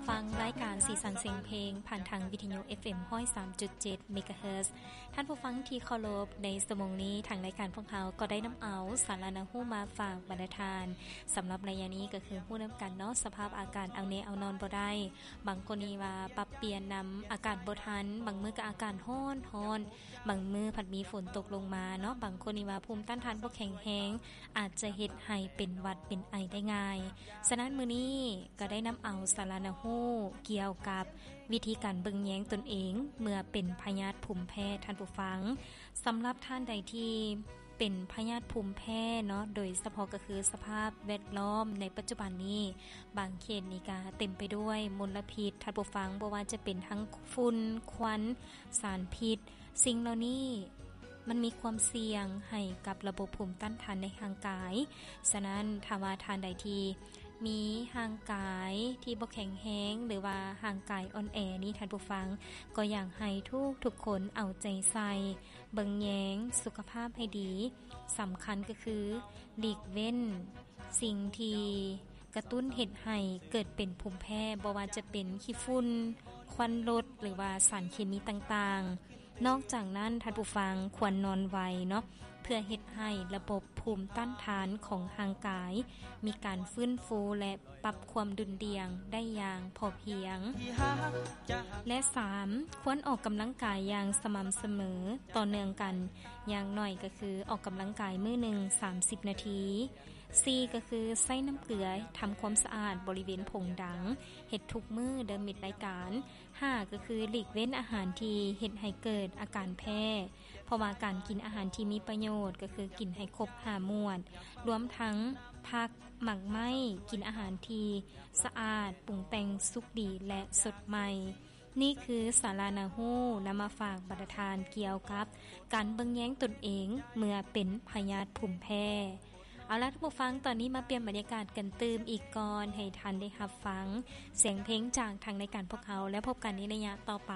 ຟັງລາຍການສີສັນສຽງເພງ ຜ່ານທາງວິທະຍຸ ເອັຟເອັມ ຮ້ອຍສາມຈຸດເຈັດ ເມກາເຮີດ. ທ່ານຜູ້ຟັງທີ່ເຄົາລົບ, ໃນຊົ່ວໂມງນີ້ ທາງລາຍການພວກເຮົາກໍໄດ້ນຳເອົາສາລະໜ້າຮູ້ມາຝາກບັນດາທ່ານ. ສຳລັບໄລຍະນີ້ກໍຄືຮູ້ນຳກັນເນາະ, ສະພາບອາກາດເອົາແນ່ເອົານອນບໍ່ໄດ້. ບາງຄົນນີ້ວ່າປັບປ່ຽນນຳອາກາດບໍ່ທັນ, ບາງມື້ກໍອາກາດຮ້ອນ, ຮ້ອນ, ບາງມື້ພັດມີຝົນຕົກລົງມາເນາະ. ບາງຄົນນີ້ວ່າພູມຕ້ານທານບໍ່ແຂງແຮງ, ອາດຈະເຮັດໃຫ້ເປັນຫວັດເປັນໄອໄດ້ງ່າຍ. ສະນັ້ນ ມື້ນີ້ກໍໄດ້ນຳເອົາສາລະໜ້າຮູ້ກ່ຽວກັບວິທີການເບິ່ງແຍງຕົນເອງເມື່ອເປັນພະຍາດພູມແພ້, ທ່ານຜູ້ຟັງ. ສຳລັບທ່ານໃດທີ່ເປັນພະຍາດພູມແພ້ເນາະ, ໂດຍສະເພາະກໍຄືສະພາບແວດລ້ອມໃນປັດຈຸບັນນີ້, ບາງເຂດນີ້ກໍເຕັມໄປດ້ວຍມົນລະພິດ, ທ່ານຜູ້ຟັງ, ບໍ່ວ່າຈະເປັນທັງຝຸ່ນ, ຄວັນ, ສານພິດ, ສິ່ງເຫຼົ່ານີ້ມັນມີຄວາມສ່ຽງໃຫ້ກັບລະບົບພູມຕ້ານທານໃນຮ່າງກາຍ. ສະນັ້ນ ຖ້າວ່າທ່ານໃດທີ່ມີຮ່າງກາຍທີ່ບໍ່ແຂງແຮງ ຫຼືວ່າຮ່າງກາຍອ່ອນແອນີ້, ທ່ານຜູ້ຟັງ, ກໍຢາກໃຫ້ທຸກໆຄົນເອົາໃຈໃສ່ເບິ່ງແຍງສຸຂະພາບໃຫ້ດີ. ສຳຄັນກໍຄືຫຼີກເວັ້ນ ສິ່ງທີ່ກະຕຸ້ນເຮັດໃຫ້ເກີດເປັນພູມແພ້, ບໍ່ວ່າຈະເປັນຂີ້ຝຸ່ນ, ຄວັນລົດ ຫຼືວ່າສານເຄມີຕ່າງໆ. ນອກຈາກນັ້ນ, ທ່ານຜູ້ຟັງຄວນນອນໄວເນາະ, ເພື່ອເຮັດໃຫ້ລະບົບພູມຕ້ານທານຂອງຮ່າງກາຍມີການຟື້ນຟູ ແລະ ປັບຄວາມດຸ່ນດ່ຽງໄດ້ຢ່າງພໍພຽງ. ແລະ ສາມ, ຄວນອອກກຳລັງກາຍຢ່າງສະໝ່ຳສະເໝີຕໍ່ເນື່ອງກັນ, ຢ່າງໜ້ອຍກໍຄືອອກກຳລັງກາຍມື້ໜຶ່ງສາມສິບນາທີ. ສີ່ ກໍຄືໃຊ້ນ້ຳເກືອທຳຄວາມສະອາດບໍລິເວນຜົງດັງ, ເຮັດທຸກມື້ເດີມິດລາຍການ. ຫ້າ ກໍຄືຫຼີກເວັ້ນອາຫານທີ່ເຮັດໃຫ້ເກີດອາການແພ້, ເພາະວ່າການກິນອາຫານທີ່ມີປະໂຫຍດ ກໍຄືກິນໃຫ້ຄົບຫ້າໝວດ, ລວມທັງຜັກ, ໝາກໄມ້, ກິນອາຫານທີ່ສະອາດ, ປຸງແຕ່ງສຸກດີ ແລະ ສົດໃໝ່. ນີ້ຄືສາລະໜ້າຮູ້ນຳມາຝາກບັນດາທ່ານກ່ຽວກັບການເບິ່ງແຍງຕົນເອງເມື່ອເປັນພະຍາດພູມແພ້. ເອົາລະ ທ່ານຜູ້ຟັງ, ຕອນນີ້ມາປ່ຽນບັນຍາກາດກັນຕື່ມອີກກ່ອນ ໃຫ້ທ່ານໄດ້ຮັບຟັງສຽງເພງຈາກທາງລາຍການພວກເຮົາ, ແລ້ວພົບກັນໃນໄລຍະຕໍ່ໄປ.